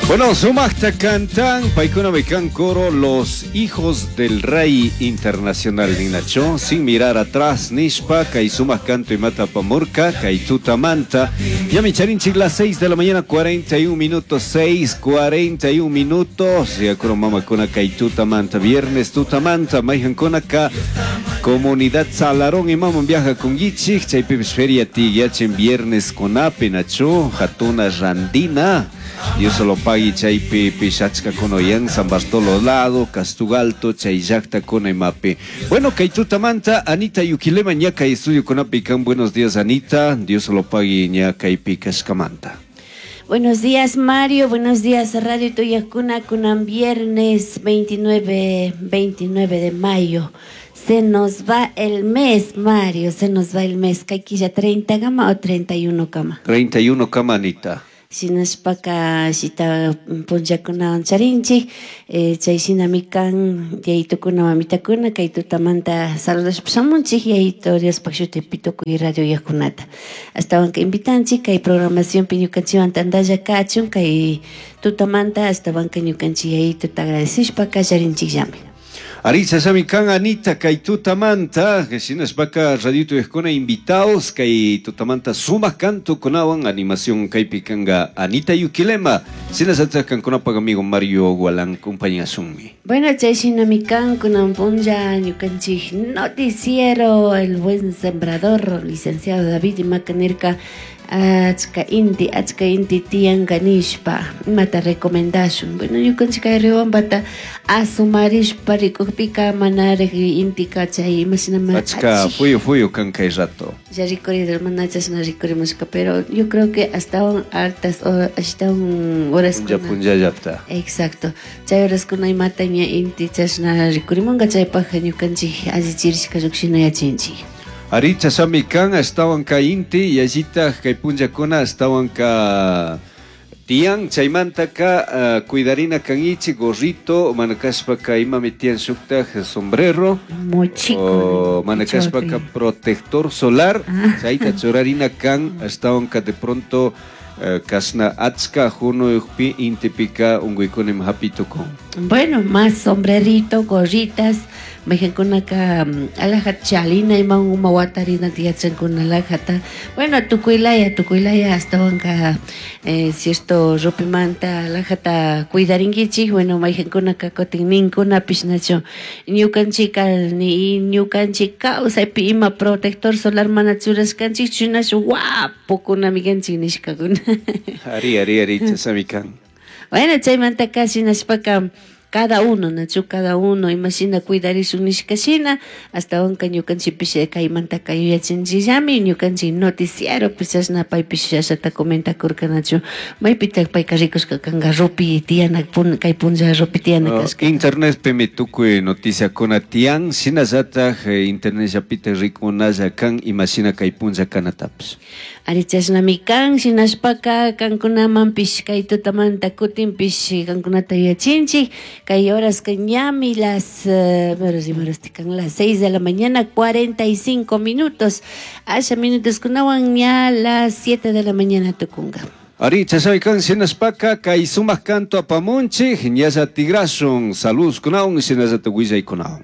Bueno, sumaqta cantan, paykuna kan coro Los Hijos del Rey Internacional ninacho, sin mirar atrás, nishpa, kay sumaq canto imata apamurka, kay tutamanta. Ñami charinchik las 6 de la mañana, 41 minutos, 6, 41 minutos. Ya mamakuna kay tutamanta, viernes tutamanta, mayhankunaka comunidad Salarón imaman viaja con Yichik, chaypipis feria tiyachin viernes kunapi, nachu, hatuna randina. Dios solo pagui chaypi pishachka kunoyan San Bartolo lado, Castugalto, chay llaqta kunaymapi. Bueno, kay tutamanta Anita Yuquilema ña kay estudio kunapi kan. Buenos días, Anita. Dios solo pagui ña kaypi kashkamanta. Buenos días, Mario. Buenos días, Radio Tuyacuna. Kunan viernes 29 de mayo. Se nos va el mes, Mario. Se nos va el mes. Kay 30 kama o 31 kama? 31 kama, Anita. Shinashpaka shita punllakunawan charinchik, chay shinami kan yayitukuna mamitakuna kay tutamanta saludashpa shamunchik yayito Diospaj shutipi tukuy radio yakunata. Ashtawanka invitanchik kay programacionpi ñukanchikwan tantalla kachun kay tutamanta ashtawanka ñukanchik yayituta agradecishpa kallarinchikllami. Aritza sami kan Anita kay tutamanta shinashpaka radio tuyakuna invitados kay tutamanta sumaq canto kunawan animación kaypi kanga Anita Yuquilema shinashatak kankunapak amigo Mario Gualán compañasunmi. Bueno, chay shinami kan kunan punlla ñukanchik noticiero El Buen Sembrador licenciado David imaka nirka achka inti tiyanka nishpa imata recomendashun. Bueno, ñukanchik kay Riobambata asumarishpa rikukpika manarik intika chay imashinama achka fuyu fuyu kan kay rato. Ya rikurido mana chashna rikurimushka, pero yo creo que hasta un altas hasta un horas punlla punlla llapta. Exacto. Chay horaskuna imata ña inti chashna rikurimunka chaypaj ñukanchik allichirishka llukshina yachinchik. Aricha sami kan ashtawan ka inti yallitaj kay punllakuna ashtawan ka tiyan chaymantaka cuidarina kan'ichik gorrito mana kashpaka imami tiyan shuktaj sombrero mochico mana kashpaka protector solar chayta churarina kan ashtawan ka de pronto kasna achka hunuypi intipika unquykunim hapitukun. Bueno, más sombrerito, gorritas, mayqankunaka alhaja chalina ima uma watarina tiyachankuna alhajata. Bueno, tukuylaya ashtawanka cierto rupimanta alhajata cuidarinkichik. Bueno, mayqankunaka kutin ninkunapish nachu ñukanchika ni ñukanchik kawsaypi ima protector solar mana churashkanchik chunash guapokunami kanchik nishkakuna. Ari, ari, ari, chasami kan. Bueno, chaymantaka shinashpaka cada uno, nachu cada uno, imashina cuidarishun nishkashina, ashtawanka ñukanchikpish kaymantaka yuyachinchikllami, ñukanchik noticiero pues chashna paypish chashata comentakurka nachu, maypitak payka rikushka kanka rupi tiyana kay punlla rupi tiyana kashka. Internetpimi tukuy noticiakuna tiyan, shinallatak internetllapita rikunalla kan imashina kay punlla kanatapish. Ari chashnami kan, shinashpaka kankunamanpish kay tutamanta kutinpish kankunata yuyachinchik. Kay horas que ñami las las 6 de la mañana 45 minutos. Asha minutos kunawan ña las 7 de la mañana tukunga. Ari chashnami kan shinashpaka kay sumaq canto apamunchik ñalla tigrashun saludos kunawan shinallata willaykunawan.